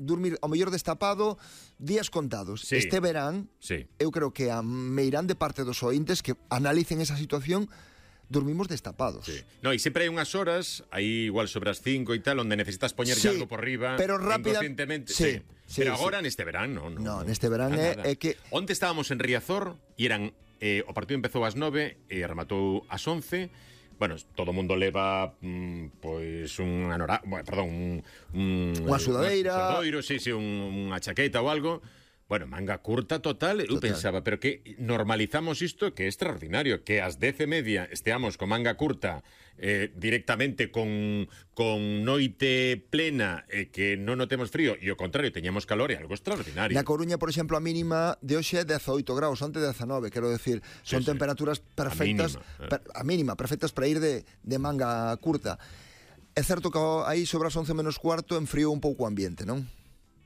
dormir ao mellor destapado días contados. Sí. Este verán, Sí. eu creo que a meirán de parte dos ointes que analicen esa situación, dormimos destapados. Sí. No, e sempre hai unhas horas, aí igual sobre as 5 e tal, onde necesitas poñerlle Sí, algo por riba, pero rápida- inconscientemente. sí, sí, Pero sí. agora neste verán, non. No, neste verán é que... Onte estábamos en Riazor e eran o partido empezou ás 9 e rematou ás 11. Bueno, todo o mundo leva pois unha Unha sudadeira, unha chaqueta ou algo. Bueno, manga curta total. Eu pensaba, pero que normalizamos isto, que é extraordinario, que ás 10:30 esteamos con manga curta directamente con noite plena e que non notemos frío, e ao contrario, teñamos calor, é algo extraordinario. Na Coruña, por exemplo, a mínima de hoxe é 18 graus, onte 19, quero decir, son temperaturas perfectas, a mínima, perfectas para ir de manga curta. É certo que aí sobre as 11 menos cuarto enfriou un pouco o ambiente, non?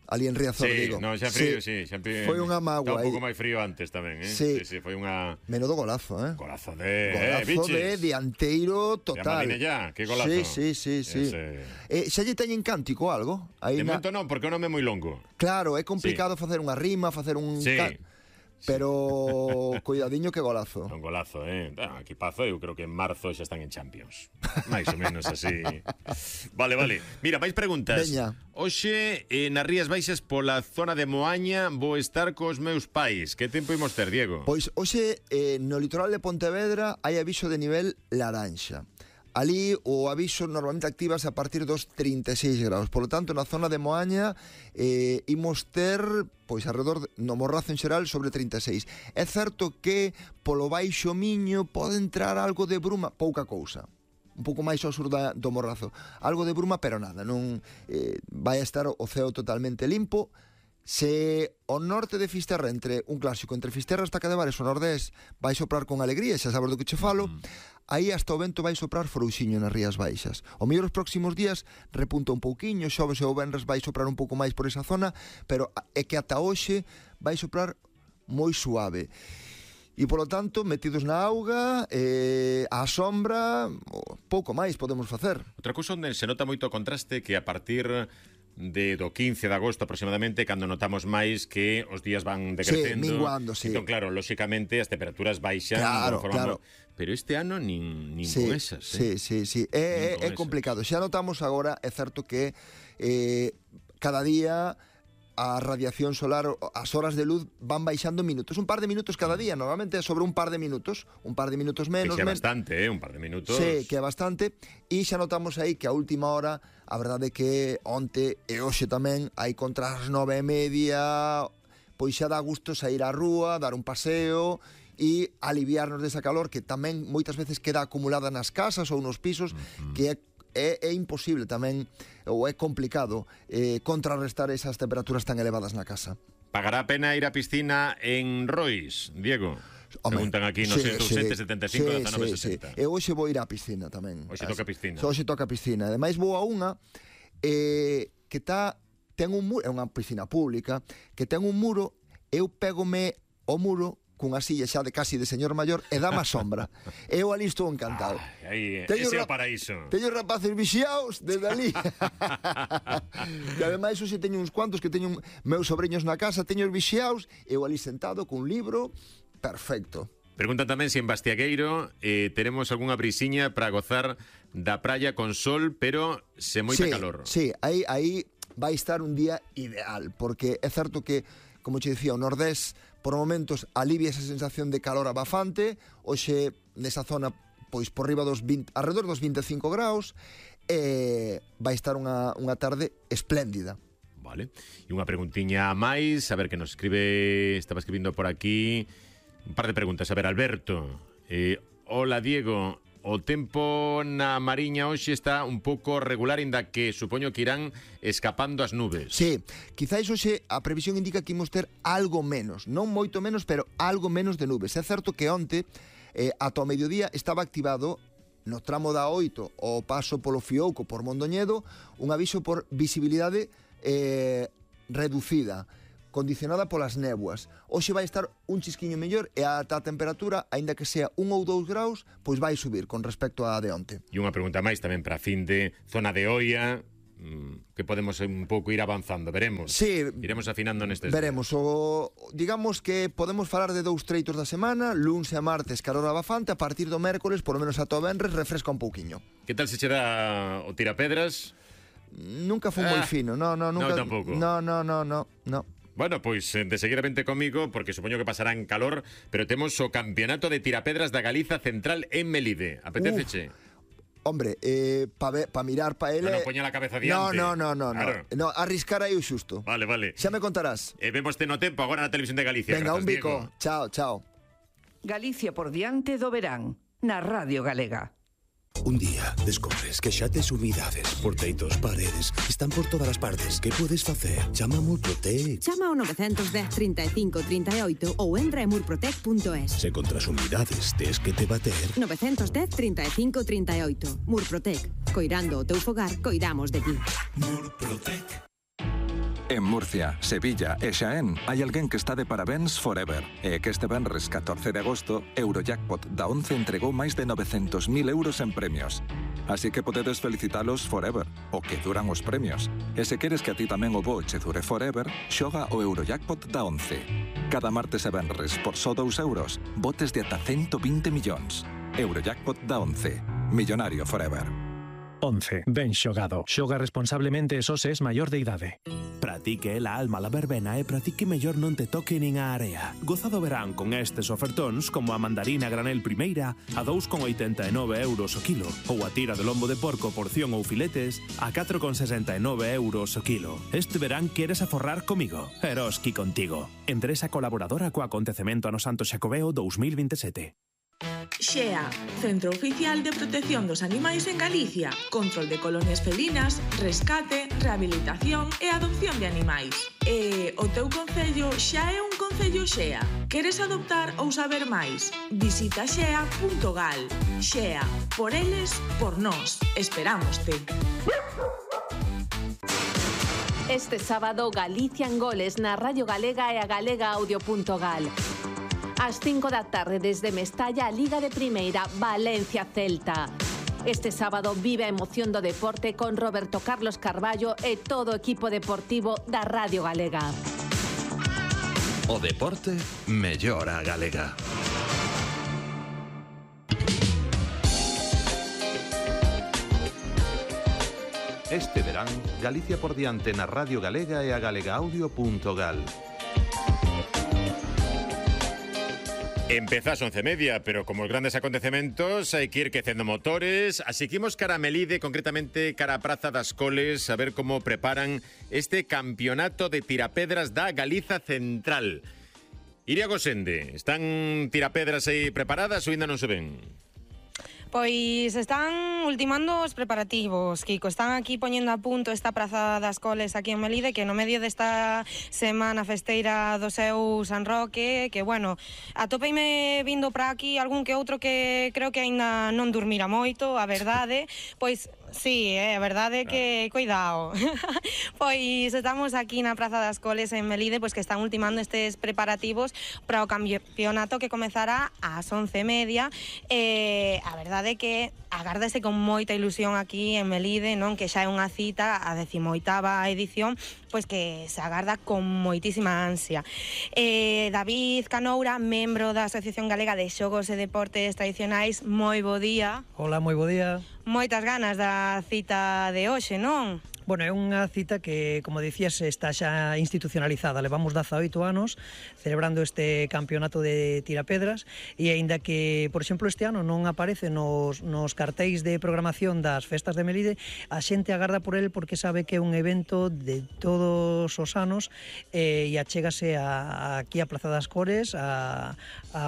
Ali en Riazor, digo. No, xa frío, sí. Foi unha mágoa aí. Está un pouco aí. máis frío antes tamén, Sí. foi unha... Menudo golazo, Golazo de... Golazo de dianteiro total. De Madinella, que golazo. Sí. Xa lle teñen cántico algo? De momento non, porque o nome é moi longo. Claro, é complicado facer unha rima, facer un... Sí. Pero cuidadiño que golazo. Un golazo, equipazo, eu creo que en marzo xa están en Champions. Mais ou menos así. Vale. Mira, máis preguntas. Veña. Hoxe, nas Rías Baixas, pola zona de Moaña, vou estar cos meus pais. Que tempo imos ter, Diego? Pois hoxe, no litoral de Pontevedra, hai aviso de nivel laranxa. Ali o aviso normalmente activase a partir dos 36 graus. Por lo tanto, na zona de Moaña imos ter, pois, alrededor no Morrazo en xeral, sobre 36. É certo que polo Baixo Miño pode entrar algo de bruma, pouca cousa. Un pouco máis ao sur do Morrazo. Algo de bruma, pero nada. Non vai a estar o ceo totalmente limpo. Se o norte de Fisterra, entre un clásico, entre Fisterra e Estaca de Bares, o nordés vai soprar con alegría, xa sabes do que che falo, aí hasta o vento vai soprar frouxiño nas Rías Baixas. O mellor os próximos días repunta un pouquiño, xoves e o venres vai soprar un pouco máis por esa zona, pero é que ata hoxe vai soprar moi suave. E, polo tanto, metidos na auga, á sombra, pouco máis podemos facer. Outra cousa onde se nota moito o contraste que a partir do 15 de agosto aproximadamente, cando notamos máis que os días van decrecendo. Sí, minguando, sí. Entón, claro, lóxicamente as temperaturas baixan. Claro. Pero este ano nin con esas. Sí. É complicado. Xa notamos agora, é certo que cada día a radiación solar, as horas de luz van baixando minutos, un par de minutos cada día, normalmente é sobre un par de minutos menos. Que é bastante, un par de minutos. Sí, que é bastante, e xa notamos aí que a última hora, a verdade é que onte e hoxe tamén, hai contra as 9:30, pois xa dá gusto sair á rúa, dar un paseo e aliviarnos desa calor que tamén moitas veces queda acumulada nas casas ou nos pisos, que é imposible tamén, ou é complicado contrarrestar esas temperaturas tan elevadas na casa. Pagará a pena ir á piscina en Rois, Diego? Preguntan aquí no 775-1960. E hoxe vou ir á piscina tamén. Hoxe toca piscina. Hoxe toca piscina. Ademais vou a unha que ten un muro, é unha piscina pública, que ten un muro, eu pégome o muro cunha silla xa de casi de señor maior e dá má sombra. Eu ali estou encantado. Aí, ese é o paraíso. Teño rapaces vixiaos desde ali. E ademais hoxe teño uns cuantos que teño meus sobreños na casa, teño os vixiaos, eu ali sentado cun libro, perfecto. Preguntan tamén se en Bastiagueiro teremos algunha brisiña para gozar da praia con sol, pero se moita calor. Sí, aí vai estar un día ideal, porque é certo que, como che dicía, o nordés por momentos alivia esa sensación de calor abafante. Hoxe nesa zona, pois por riba dos 20, alrededor dos 25 graus, vai estar unha tarde espléndida. Vale. E unha preguntiña a máis, a ver que nos escribe, estaba escribindo por aquí un par de preguntas. A ver, Alberto, hola Diego, o tempo na Mariña hoxe está un pouco regular, inda que supoño que irán escapando as nubes. Sí, quizáis hoxe a previsión indica que imos ter algo menos, non moito menos, pero algo menos de nubes. É certo que onte, ata o mediodía, estaba activado no tramo da 8 o paso polo Fiouco por Mondoñedo un aviso por visibilidade reducida, condicionada polas néboas. Hoxe vai estar un chisquiño mellor e ata a temperatura, aínda que sea 1 ou 2 graus, pois vai subir con respecto a de onte. E unha pregunta máis tamén para fin de zona de Oia, que podemos un pouco ir avanzando, veremos. Sí, iremos afinando nestes veremos. Digamos que podemos falar de 2 treitos da semana, luns e martes carón abafante, a partir do mércoles, por lo menos ata o venres, refresca un pouquiño. Que tal se che dá o tirapedras? Nunca foi moi fino, nunca. No, tampouco. No. Bueno, pois de seguir vente comigo, porque supoño que pasará en calor, pero temos o campeonato de tirapedras da Galiza Central en Melide. Apetéceche? Hombre, pa mirar pa ele... Non poña a cabeza diante. No. Claro. No, arriscar aí o xusto. Vale. Xa me contarás. Vémoste no tempo agora na Televisión de Galicia. Venga, Grazas, un bico. Diego. Chao. Galicia por diante do verán, na Radio Galega. Un día descubres que xa tes humidades por teitos, paredes, están por todas as partes. Que podes facer? Chama a Murprotec. Chama ao 910 35 38 ou entra en murprotec.es. Se contra as humidades tes que te bater. 910 35 38. Murprotec. Coirando o teu fogar, coidamos de ti. Murprotec. En Murcia, Sevilla e Xaén hai alguén que está de parabéns forever. E que este venres 14 de agosto, Eurojackpot da 11 entregou máis de 900.000 euros en premios. Así que podedes felicitalos forever, o que duran os premios. E se queres que a ti tamén o bo che dure forever, xoga o Eurojackpot da 11. Cada martes e venres, por só 2 euros, botes de ata 120 millóns. Eurojackpot da 11. Millonario forever. 11. Ben xogado. Xoga responsablemente e só se es maior de idade. Pratique la alma la verbena e pratique mellor non te toque nin a area. Goza do verán con estes ofertóns como a mandarina granel primeira a 2,89 euros o kilo ou a tira de lombo de porco porción ou filetes a 4,69 euros o kilo. Este verán queres aforrar comigo. Eroski contigo. Empresa colaboradora co acontecemento ano Santo Xacobeo 2027. XEA, Centro Oficial de Protección dos Animais en Galicia. Control de colonias felinas, rescate, rehabilitación e adopción de animais. E o teu concello xa é un concello XEA. Queres adoptar ou saber máis? Visita xea.gal. XEA, por eles, por nós. Esperámoste. Este sábado, Galicia en goles na Radio Galega e a galegaaudio.gal. Ás 5 da tarde desde Mestalla a Liga de Primeira Valencia-Celta. Este sábado vive a emoción do deporte con Roberto Carlos Carballo e todo o equipo deportivo da Radio Galega. O deporte mellora a galega. Este verán, Galicia por diante na Radio Galega e a galegaaudio.gal. Empezás 11:30, pero como os grandes acontecementos hai que ir quecendo motores, así que imos cara a Melide, concretamente cara a Praza das Coles, a ver como preparan este campeonato de tirapedras da Galiza Central. Iria Gosende, están tirapedras aí preparadas ou ainda non se ven? Pois están ultimando os preparativos, Kiko. Están aquí poñendo a punto esta Praza das Coles aquí en Melide, que no medio desta semana festeira do seu San Roque, que, bueno, atopeime vindo para aquí algún que outro que creo que aínda non dormira moito, a verdade. Pois sí, a verdade é que, cuidado. Pois estamos aquí na Praza das Coles en Melide, pois que están ultimando estes preparativos para o campeonato que comezará ás 11:30. A verdade é que agárdase con moita ilusión aquí en Melide, non? Que xa é unha cita, a 18ª edición, pois que se agarda con moitísima ansia. David Canoura, membro da Asociación Galega de Xogos e Deportes Tradicionais, moi bo día. Hola, moi bo día. Moitas ganas da cita de hoxe, non? Bueno, é unha cita que, como dicías, está xa institucionalizada. Levamos 18 anos celebrando este campeonato de tirapedras e aínda que, por exemplo, este ano non aparece nos cartéis de programación das festas de Melide, a xente agarda por el porque sabe que é un evento de todos os anos e achégase aquí a Praza das Cores a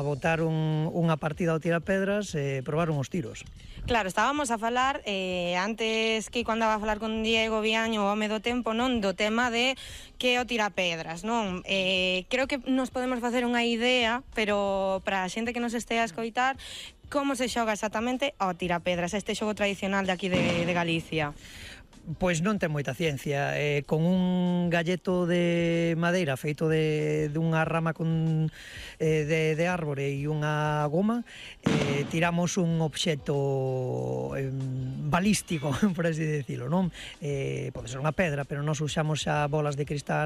botar unha partida ao tirapedras e probar uns tiros. Claro, estábamos a falar antes que cando andaba a falar con Diego Viaño, o home do tempo, non, do tema de que o tirapedras, non? Creo que nos podemos facer unha idea, pero para a xente que nos estea a escoitar, como se xoga exactamente ao tirapedras, este xogo tradicional de aquí de Galicia? Pois non ten moita ciencia. Con un galleto de madeira feito dunha rama de árbore e unha goma, tiramos un obxecto balístico, por así decirlo, non? Pode ser unha pedra, pero nós usamos xa bolas de cristal